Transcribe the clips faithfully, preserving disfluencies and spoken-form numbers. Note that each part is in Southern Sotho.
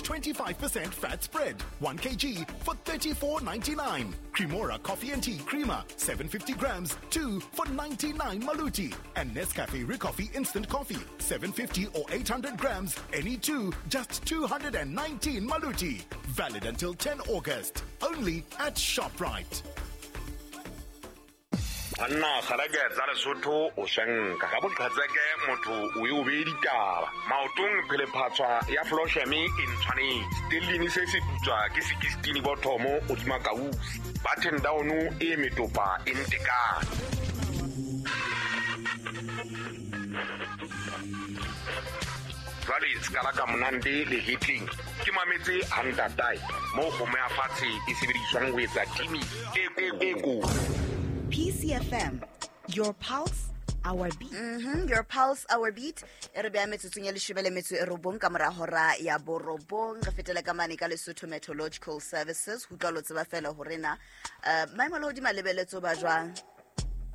twenty-five percent fat spread, one kilogram for thirty-four ninety-nine. Cremora coffee and tea creamer, seven hundred fifty grams, two for ninety-nine maluti. And Nescafe Ricoffee instant coffee, seven fifty or eight hundred grams, any two, just two hundred nineteen maluti. Valid until ten August. Only at ShopRite. Anna kgalake tsa Lesotho o shanka ka boqhatseke motho o e o be ditaba maotong phelephatswa ya Flosheme e ntshwanetse stellini se se putswa ke sixteen bothomo o dima kausi button down e metopa e ntekane. Jwale skala ka monande le hitling ke mametse hantatai mo kgomo ya fatshe e sebediswang ho etsa timi e e ko. P C F M, your pulse, our beat. Mm-hmm, your pulse, our beat. E re beha metsotsong ya leshome le metso e robong ka mora hora ya borobong. Re fetela ka mane ka Lesotho Meteorological Services. Ho utlwa lo tseba fela hore na uh, maemo a lehodimo a lebeletswe ba jwang.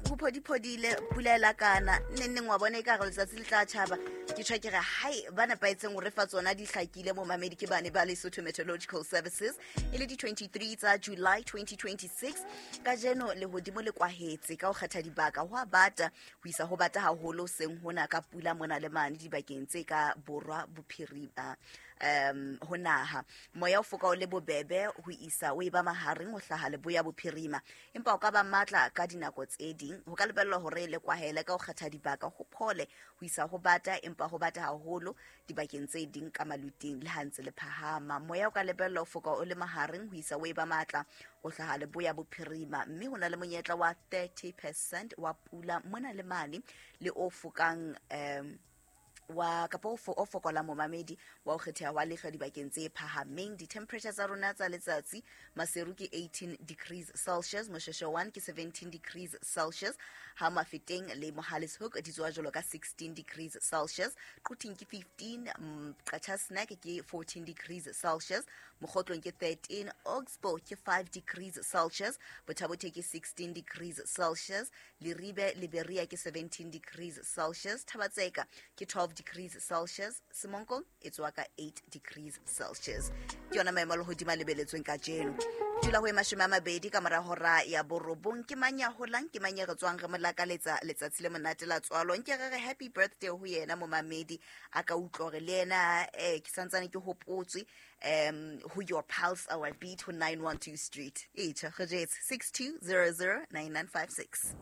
Ho phodiphodile, pula e lakana, neng neng wa bona ekare letsatsi le tla tjhaba. Ke tjho ke re hai ba nepahetseng hore fa tsona di hlakile mo mamedi ke bane ba Lesotho Meteorological Services. E le di twenty-three tsa July twenty twenty-six. Kajeno lehodimo le kwahetse ka ho kgetha dibaka ho a bata ho isa ho bata haholo seng hona ka pula mona le mane dibakeng tse ka borwa bophirima um ho naha. Moya o foka o le bobebe ho isa o e ba mahareng ho hlaha leboya bophirima, empa o ka ba matla ka dinako tse ding. Ho ka lebellwa hore le kwahele ka ho kgetha dibaka ho phole ho isa ho bata, empa ho bata haholo dibakeng tse ding ka maluting le ha ntse le phahama. Moya o ka lebellwa ho foka o le mahareng ho isa o e ba matla ho hlaha leboya bophirima, mme ho na le monyetla wa thirty percent wa pula mona le mane le o fokang um wa kapa o fo- o fokola momamedi wa ho kgetheha wa lehlwa dibakeng tse phahameng. Di-temperature tsa rona tsa letsatsi, Maseru ke eighteen degrees Celsius, Mosheshe one ke seventeen degrees Celsius, ha Mafeteng le Mohale's Hoek di tswa jwalo ka sixteen degrees Celsius, Quthing ke fifteen, Qacha's Nek ke fourteen degrees Celsius, Mokgotlong ke thirteen, Oxbow ke five degrees Celsius, Botha-Bothe ke sixteen degrees Celsius, Leribe Liberia ke seventeen degrees Celsius, Thabatseka ke twelve degrees Celsius, Semonkong e tswa ka eight degrees Celsius. Ke yona maemo a lehodimo a lebeletsweng kajeno. Dula ho e mashome a mabedi ka mora hora ya borobong. Ke mang ya holang, ke mang ya re tswang re mo lakaletsa letsatsi le monate la tswalo. Nke re re happy birthday ho yena momamedi a ka utlwa hore le yena eh ke santsane ke hopotswe um ho your pulse our beat ho nine one two Street. E tjha re jetse six two zero zero nine nine five six.